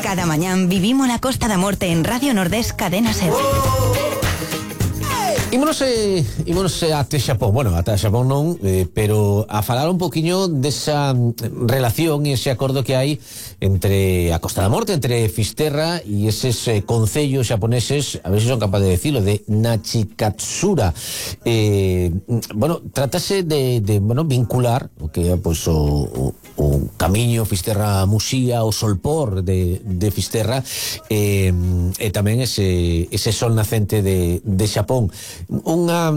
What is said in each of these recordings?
Cada mañán vivimos la Costa da Morte en Radio Nordés Cadena Ser. Ímonos ate Xapón, bueno, ate Xapón non, pero a falar un poquinho desa relación e ese acordo que hai entre a Costa da Morte, entre Fisterra e eses concellos xaponeses, a ver se son capaz de decirlo, de Nachikatsura. Bueno, trátase de vincular o que é pois, o camiño Fisterra-Muxía, o solpor de Fisterra, e tamén ese sol nacente de Xapón. Unha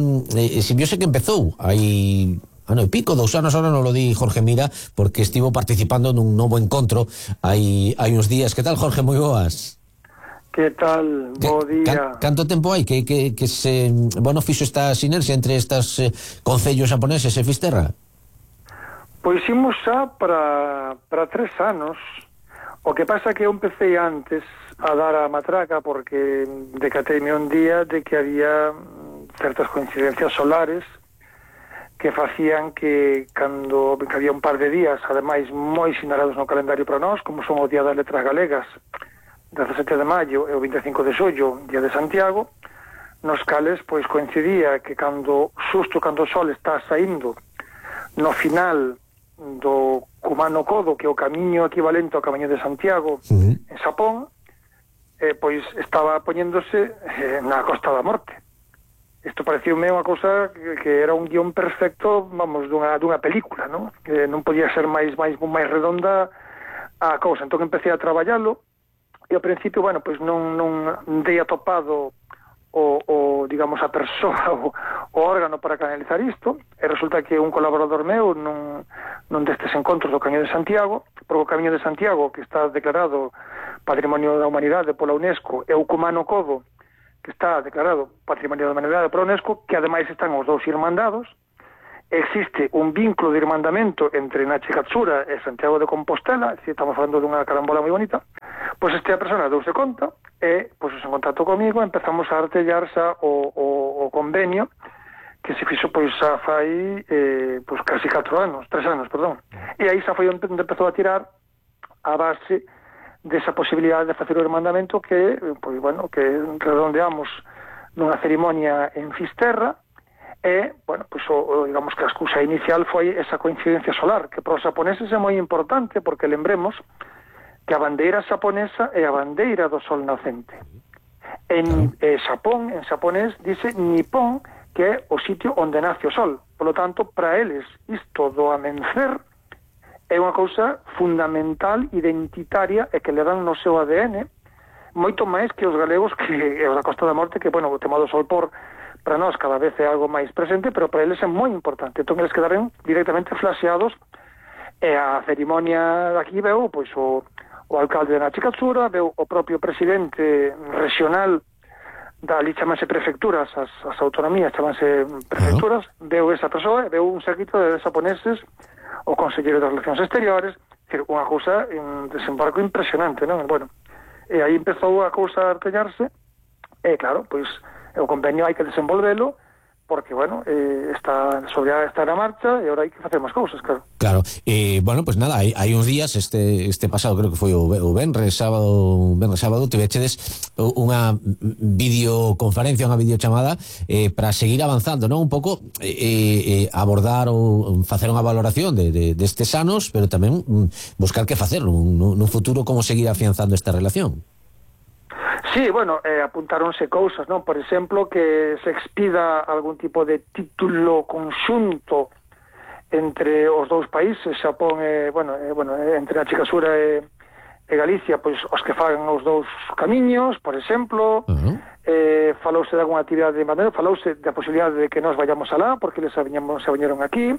simbiose que empezou hai ano e pico, 2 anos, ahora non lo di Jorge Mira, porque estivo participando nun novo encontro hai uns días. Que tal, Jorge? Moi boas. Que tal? Bo día. Canto tempo hai que se, bueno, fixo esta sinerxia entre estas concellos xaponeses e Fisterra? Pois imos xa para 3 anos. O que pasa que eu empecé antes a dar a matraca porque decateime un día de que había certas coincidencias solares que facían que cando que había un par de días, ademais moi sinalados no calendario para nós, como son o Día das Letras Galegas, 17 de maio e o 25 de xollo, Día de Santiago, nos cales pois coincidía que cando o sol está saindo no final do Kumano Kodo, que é o camiño equivalente ao camiño de Santiago, en Xapón, pois estaba poñéndose na Costa da Morte. Isto pareceume unha cousa que era un guión perfecto, vamos, dunha película, non? Que non podía ser máis redonda a cousa. Entón empecé a traballalo e ao principio, bueno, pois non dei atopado digamos, a persoa, o órgano para canalizar isto, e resulta que un colaborador meu non destes encontros do Camiño de Santiago, porque o Camiño de Santiago, que está declarado Patrimonio da Humanidade pola UNESCO, e o Kumano Kodo, que está declarado Patrimonio da Humanidade pola UNESCO, que ademais están os dous irmandados. Existe un vínculo de irmandamento entre Nachikatsura e Santiago de Compostela, si estamos falando dunha carambola moi bonita. Pois esta persona deuse conta e, pois, en contacto comigo, empezamos a artellar xa o convenio que se fixo, pois, xa fai pois, casi 3 anos, perdón. E aí xa foi onde empezou a tirar a base desa posibilidade de facer o irmandamento que, pois, bueno, que redondeamos nunha cerimonia en Fisterra. E, bueno, pois, digamos que a excusa inicial foi esa coincidencia solar, que para os xaponeses é moi importante, porque lembremos que a bandeira xaponesa é a bandeira do sol nacente. En Xapón, en xaponés, dice Nippon, que é o sitio onde nace o sol. Por lo tanto, para eles, isto do amencer é unha cousa fundamental, identitaria, e que le dan no seu ADN, moito máis que os galegos, que é os da Costa da Morte, que, bueno, o tema do sol por para nós cada vez é algo máis presente, pero para eles é moi importante. Entón, eles quedaron directamente flaseados, e a cerimonia daqui veu, pois, o alcalde de Nachikatsura, veu o propio presidente regional, ali chamanse prefecturas, as autonomías chamanse prefecturas, veu esa persoa, veu un séquito de xaponeses, o conselleiro das Relacións Exteriores, unha cousa, un desembarco impresionante, non? Bueno, e aí empezou a cousa a artellarse, e claro, pois, o convenio hai que desenvolvelo, porque, bueno, está na marcha e agora hai que facer máis cousas, claro. Claro, bueno, pues nada, hai uns días, este pasado, creo que foi o venres sábado, tivechedes unha videoconferencia, unha videochamada para seguir avanzando, non? Un pouco abordar ou facer unha valoración destes anos, pero tamén buscar que facer nun futuro, como seguir afianzando esta relación. Sí, bueno, apuntáronse cousas, non? Por exemplo, que se expida algún tipo de título conxunto entre os dous países, Xapón e, entre Nachikatsura e Galicia, pois os que fagan os dous camiños, por exemplo, falouse de alguna actividade de maneira, falouse da posibilidade de que nós vayamos alá, porque eles se viñeron aquí,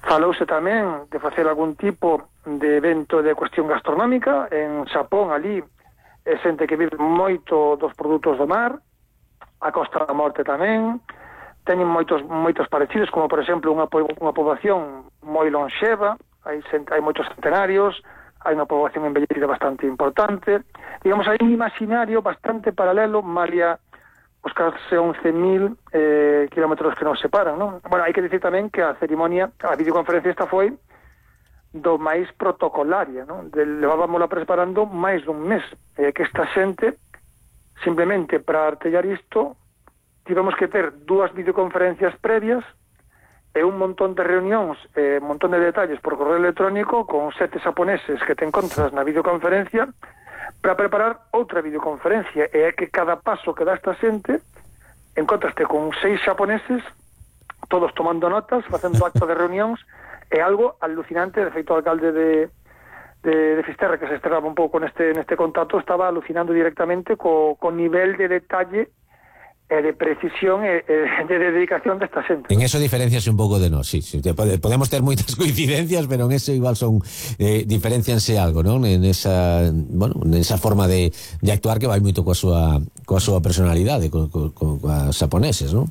falouse tamén de facer algún tipo de evento de cuestión gastronómica, en Xapón, ali, é xente que vive moito dos produtos do mar, a Costa da Morte tamén, teñen moitos parecidos, como por exemplo unha poboación moi lonxeva, hai moitos centenarios, hai unha poboación envellecida bastante importante, digamos, hai un imaginario bastante paralelo, malia os case 11.000 kilómetros que nos separan, non? Bueno, hai que dicir tamén que a cerimonia, a videoconferencia esta foi do máis protocolaria, non? Levábamos preparando máis dun mes, que esta xente simplemente para artellar isto tivemos que ter 2 videoconferencias previas e un montón de reunións, un montón de detalles por correo electrónico con 7 xaponeses que te encontras na videoconferencia para preparar outra videoconferencia, e é que cada paso que dá esta xente encontraste con 6 xaponeses todos tomando notas, facendo acto de reunións. É algo alucinante. De feito, o alcalde de Fisterra, que se estrenaba un pouco neste contacto, estaba alucinando directamente co nivel de detalle e de precisión e de dedicación desta xente. En eso diferencias un pouco de nós, sí. Podemos ter moitas coincidencias, pero en eso igual son diferencianse algo, non? En esa forma de actuar que vai moito coa súa personalidade, coas xaponeses, non?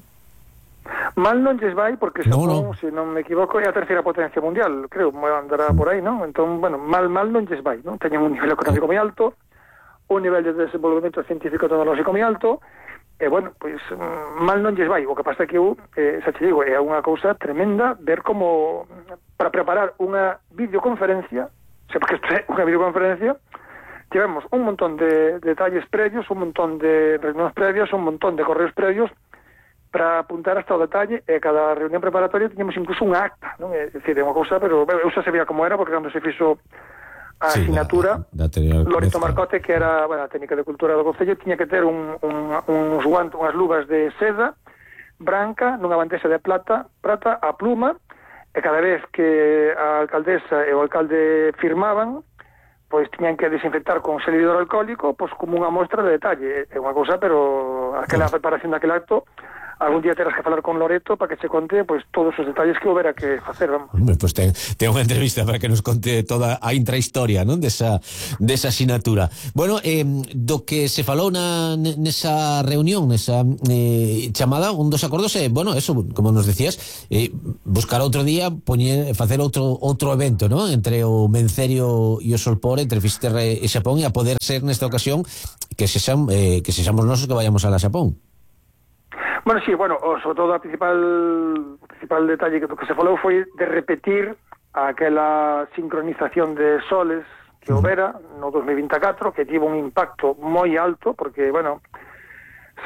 Mal non lles vai, porque Xapón, se non me equivoco, é a terceira potencia mundial, creo, andará por aí, non? Entón, bueno, mal non lles vai, non? Teñen un nivel económico moi alto, un nivel de desenvolvemento científico e tecnolóxico moi alto, e, bueno, pois, mal non lles vai. O que pasa é que xa te digo, é unha cousa tremenda ver como, para preparar unha videoconferencia, porque isto é unha videoconferencia, tivemos un montón de detalles previos, un montón de reunións previas, un montón de correos previos, para apuntar hasta o detalle, e cada reunión preparatoria tiñamos incluso unha acta, non? É dicir, é unha cousa, pero eu xa sabía como era, porque cando se fixo a asignatura, Loreto Marcote, que era, bueno, a técnica de cultura do Concello, tiña que ter uns guantes, unhas luvas de seda branca, nunha bandexa de prata, a pluma, e cada vez que a alcaldesa e o alcalde firmaban, pois tiñan que desinfectar con xel hidroalcohólico, pois como unha mostra de detalle. É unha cousa, pero aquela preparación daquele acto, algún día terás que falar con Loreto para que che conte pois todos os detalles que houbera que facer, vamos. Hombre, pois ten unha entrevista para que nos conte toda a intrahistoria, non? Desa asignatura. Bueno, do que se falou nesa reunión, nesa chamada, un dos acordos é, bueno, eso, como nos decías, buscar outro día, facer outro evento, non? Entre o Mencerio e o Solpor, entre Fisterra e Xapón, e a poder ser nesta ocasión que sexamos nosos que vayamos a la Xapón. Bueno, sí, sobre todo o principal detalle que se falou foi de repetir aquela sincronización de soles que houbera no 2024, que tivo un impacto moi alto, porque, bueno,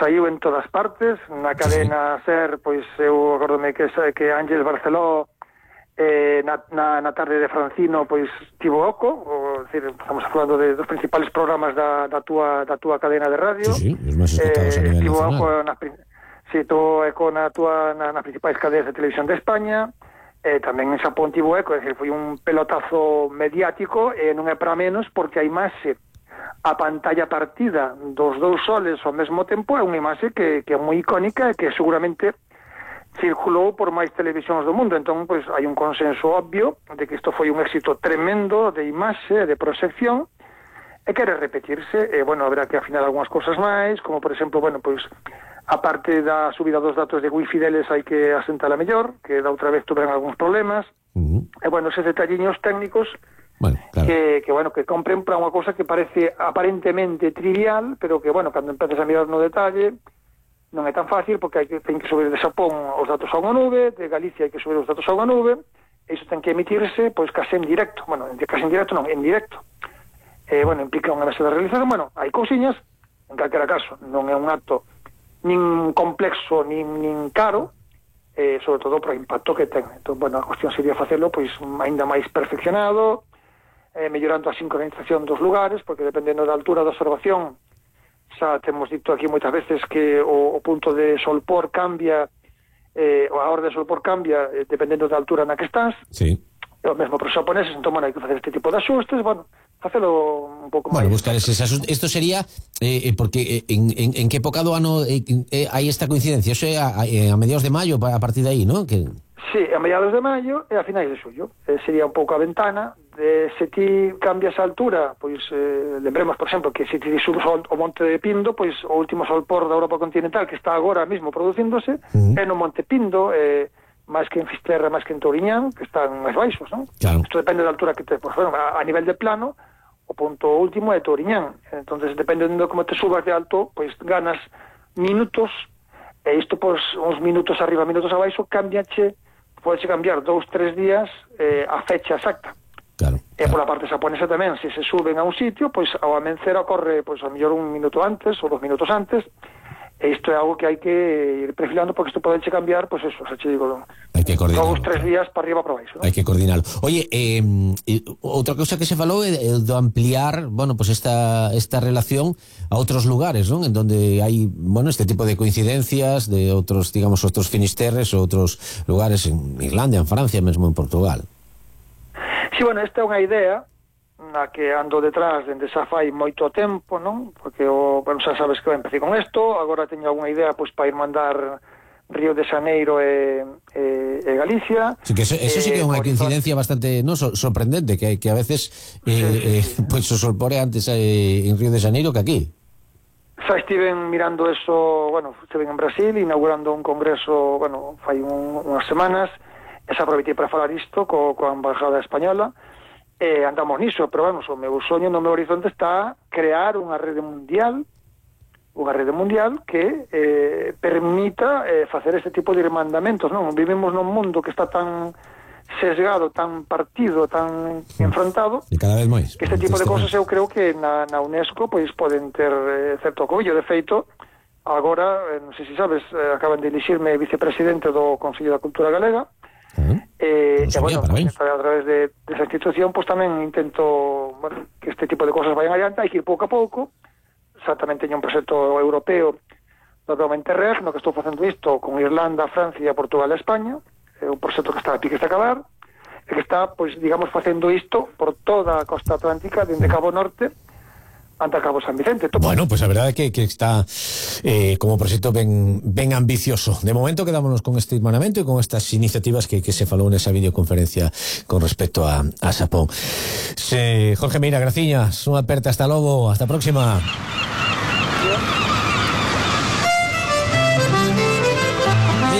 saiu en todas partes, na cadena SER, pois eu acordome que Ángel Barceló na tarde de Francino, pois tivo oco, decir, estamos falando de dos principales programas da túa cadena de radio. Sí, os máis escoitados a nivel tivo nacional. Oco todo eco nas principais cadeas de televisión de España, tamén en Xapón tivo eco, é dicir, foi un pelotazo mediático, e non é para menos, porque a imaxe, a pantalla partida dos dous soles ao mesmo tempo, é unha imaxe que é moi icónica e que seguramente circulou por máis televisións do mundo. Entón, pois, hai un consenso obvio de que isto foi un éxito tremendo de imaxe, de proxección, e quere repetirse, e, bueno, haberá que afinar algunhas cousas máis, como, por exemplo, bueno, pois, a parte da subida dos datos de wifi deles hai que asentala mellor, que da outra vez tuveran algúns problemas, e, bueno, eses detalliños técnicos, bueno, claro, que compren para unha cousa que parece aparentemente trivial, pero que, bueno, cando empeces a mirar no detalle, non é tan fácil, porque ten que subir de Xapón os datos a unha nube, de Galicia hai que subir os datos a unha nube, e iso ten que emitirse, pois, case en directo, bueno, case en directo non, en directo. Bueno, implica unha mesa de realización, bueno, hai cousiñas, en calquera caso, non é un acto nin complexo, nin caro, sobre todo por o impacto que ten. Entón, bueno, a cuestión sería facelo, pois, aínda máis perfeccionado, mellorando a sincronización dos lugares, porque dependendo da altura da observación, xa temos dito aquí moitas veces que o punto de Solpor cambia, a hora de Solpor cambia, dependendo da altura na que estás. Sí. O mesmo para os xaponeses, entón, bueno, hai que facer este tipo de axustes, bueno, facelo un pouco máis. Bueno, buscar eses asuntos. Isto sería, porque en que época do ano hai esta coincidencia? Eso é a mediados de maio, a partir de aí, ¿no? Que... Sí, a mediados de maio e a finais de xullo. Sería un pouco a ventana. Se ti cambias a altura, pois, lembremos, por exemplo, que se ti subes ao Monte de Pindo, pois o último solpor da Europa continental, que está agora mesmo producíndose, é no Monte Pindo, máis que en Fisterra, máis que en Touriñán, que están máis baixos, non? Claro. Isto depende da altura que te... Pues, bueno, a nivel de plano, o punto último é Touriñán. Entonces, dependendo de como te subas de alto, pois ganas minutos, e isto, pois, uns minutos arriba, minutos abaixo, cambiache, podeche cambiar 2-3 días a fecha exacta. E pola parte xaponesa tamén, se suben a un sitio, pois ao amencer ocorre, pois a mellor 1 minuto antes ou 2 minutos antes, e isto é algo que hai que ir perfilando, porque isto pode cambiar, pois eso, xa che digo, hai que coordinarlo, 2, 3 días para arriba para baixo, ¿no? Hai que coordinarlo. Oye, outra cousa que se falou é do ampliar, bueno, pues esta relación a outros lugares, ¿no? En donde hai, bueno, este tipo de coincidencias de outros, digamos, outros finisterres ou outros lugares en Irlanda, en Francia, mesmo en Portugal. Sí, bueno, esta é unha idea na que ando detrás dende xa fai moito tempo, non? Porque, bueno, xa sabes que eu empecé con isto, agora teño algunha idea pois para ir mandar Río de Xaneiro e Galicia. Sí, que eso sí que é unha coincidencia bastante, no, sorprendente, que a veces pois o sol pore antes en Río de Xaneiro que aquí. Xa estiven mirando eso, bueno, estiven en Brasil inaugurando un congreso, bueno, fai unhas semanas, e xa aproveitei para falar isto coa embajada española, e andamos niso, pero vamos, o meu soño no meu horizonte está crear unha rede mundial que permita facer este tipo de irmandamentos, non? Vivimos nun mundo que está tan sesgado, tan partido, tan enfrontado, e cada vez máis. Que este tipo de cosas eu creo que na UNESCO pois poden ter certo acollo. De feito, agora, non sei se sabes, acaban de elixirme vicepresidente do Consello da Cultura Galega, e bueno, a través de esa institución, pues tamén intento, bueno, que este tipo de cosas vayan adiante. Hai que ir pouco a pouco. Xa tamén teño un proxecto europeo do Interreg, no que estou facendo isto con Irlanda, Francia, Portugal e España. É un proxecto que está a piques de acabar, e que está, pois, digamos, facendo isto por toda a costa atlántica, dende Cabo Norte ante Cabo San Vicente. Bueno, pues a verdade é que está como proxecto ben ambicioso. De momento quedámonos con este irmanamento e con estas iniciativas que se falou nesa videoconferencia con respecto a Xapón. Jorge Meira, graciñas, unha aperta, hasta logo, hasta a próxima.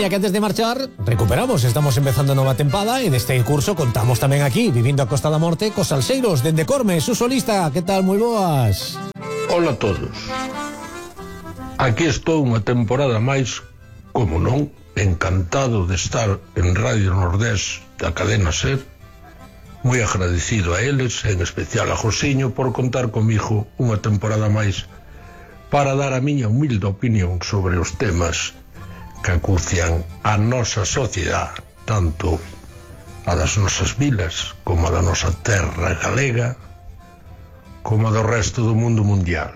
Que antes de marchar, recuperamos, estamos empezando nova tempada e deste curso contamos tamén aquí, vivindo a Costa da Morte, cos salseiros dende Corme, su solista. Que tal, moi boas? Hola a todos. Aquí estou unha temporada máis, como non, encantado de estar en Radio Nordés da cadena SER, moi agradecido a eles, en especial a Josiño, por contar comigo unha temporada máis para dar a miña humilde opinión sobre os temas que acucian a nosa sociedade, tanto a das nosas vilas como a da nosa terra galega, como a do resto do mundo mundial.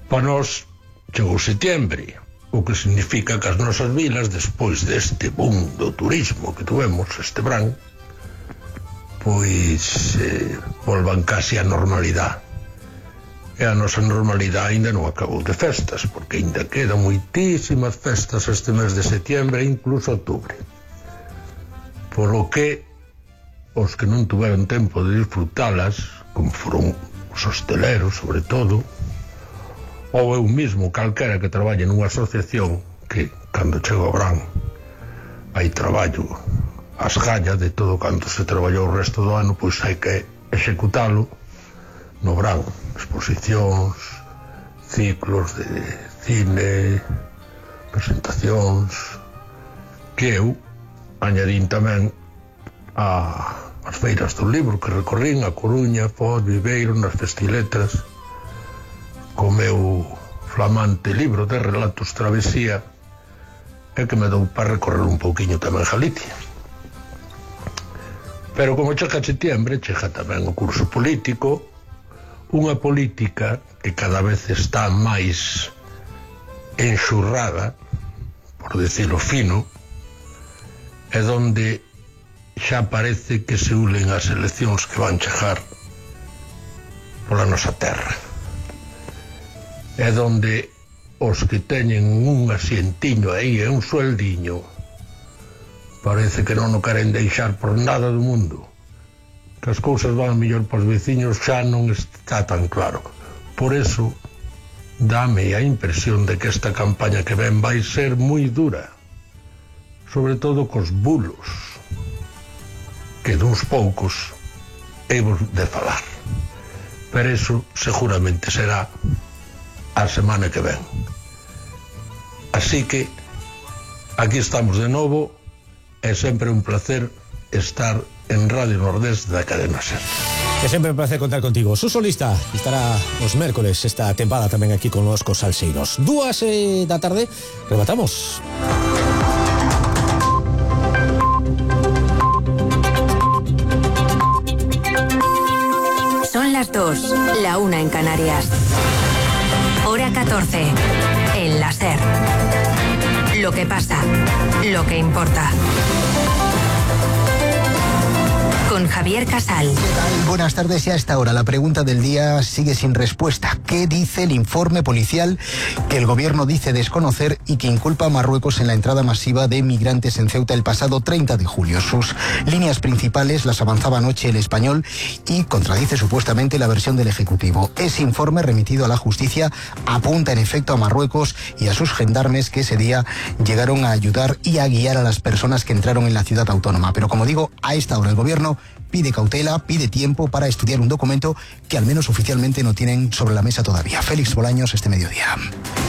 Para nós chegou setembro, o que significa que as nosas vilas, despois deste boom do turismo que tuvemos este verán, pois volvan casi a normalidade. E a nosa normalidade ainda non acabou de festas, porque ainda quedan moitísimas festas este mes de setembro e incluso outubro. Polo que os que non tuveron tempo de disfrutalas, como foron os hosteleros, sobre todo, ou eu mismo, calquera que traballe nunha asociación, que cando chega o verán hai traballo ás gallas de todo canto se traballou o resto do ano, pois hai que executalo no verán. Exposicións, ciclos de cine, presentacións, que eu añadín tamén as feiras do libro que recorrín a Coruña, Foz, Viveiro, nas Festiletras, co meu flamante libro de relatos Travesía, e que me dou para recorrer un pouquiño tamén Galicia. Pero como chega setembro, chega tamén o curso político, unha política que cada vez está máis enxurrada, por decirlo fino, e donde xa parece que se ulen as eleccións que van chegar pola nosa terra, e donde os que teñen un asientiño aí e un sueldiño parece que non o queren deixar por nada do mundo. Que as cousas van mellor para os veciños xa non está tan claro. Por eso dame a impresión de que esta campaña que ven vai ser moi dura, sobre todo cos bulos, que duns poucos hemos de falar, pero eso seguramente será a semana que ven. Así que aquí estamos de novo, é sempre un placer estar en Radio Nordés da Cadena Ser. Que sempre un placer contar contigo. Suso Lista estará os mércoles esta tempada tamén aquí con os Salseiros. 2 da tarde, rematamos. Son las 2, la 1 en Canarias. Hora 14, en la SER. Lo que pasa, lo que importa. Con Javier Casal. ¿Qué tal? Buenas tardes. Y a esta hora la pregunta del día sigue sin respuesta. ¿Qué dice el informe policial que el gobierno dice desconocer y que inculpa a Marruecos en la entrada masiva de migrantes en Ceuta el pasado 30 de julio? Sus líneas principales las avanzaba anoche El Español y contradice supuestamente la versión del Ejecutivo. Ese informe remitido a la justicia apunta en efecto a Marruecos y a sus gendarmes que ese día llegaron a ayudar y a guiar a las personas que entraron en la ciudad autónoma. Pero como digo, a esta hora el gobierno pide cautela, pide tiempo para estudiar un documento que al menos oficialmente no tienen sobre la mesa todavía. Félix Bolaños, este mediodía.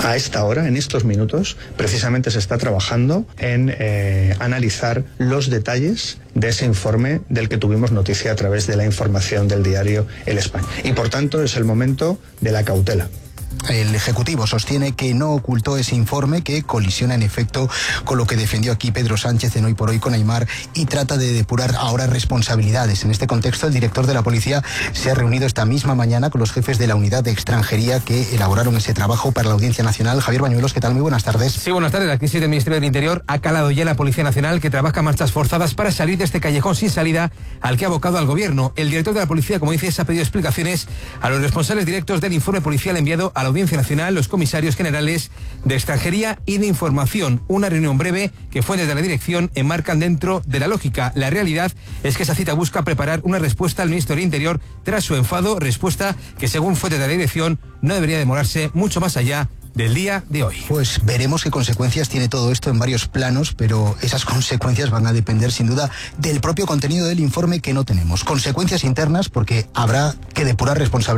A esta hora, en estos minutos, precisamente se está trabajando en analizar los detalles de ese informe del que tuvimos noticia a través de la información del diario El Español. Y por tanto es el momento de la cautela. El Ejecutivo sostiene que no ocultó ese informe, que colisiona en efecto con lo que defendió aquí Pedro Sánchez en Hoy por Hoy con Aimar y trata de depurar ahora responsabilidades. En este contexto, el director de la policía se ha reunido esta misma mañana con los jefes de la unidad de extranjería que elaboraron ese trabajo para la Audiencia Nacional. Javier Bañuelos, ¿qué tal? Muy buenas tardes. Sí, buenas tardes. La crisis del Ministerio del Interior ha calado ya la Policía Nacional, que trabaja marchas forzadas para salir de este callejón sin salida al que ha abocado al gobierno. El director de la policía, como dices, ha pedido explicaciones a los responsables directos del informe policial enviado a la Audiencia Nacional, los comisarios generales de Extranjería y de Información. Una reunión breve que fuentes de la dirección enmarcan dentro de la lógica. La realidad es que esa cita busca preparar una respuesta al ministro del Interior tras su enfado, respuesta que según fuentes de la dirección no debería demorarse mucho más allá del día de hoy. Pues veremos qué consecuencias tiene todo esto en varios planos, pero esas consecuencias van a depender sin duda del propio contenido del informe que no tenemos. Consecuencias internas porque habrá que depurar responsabilidades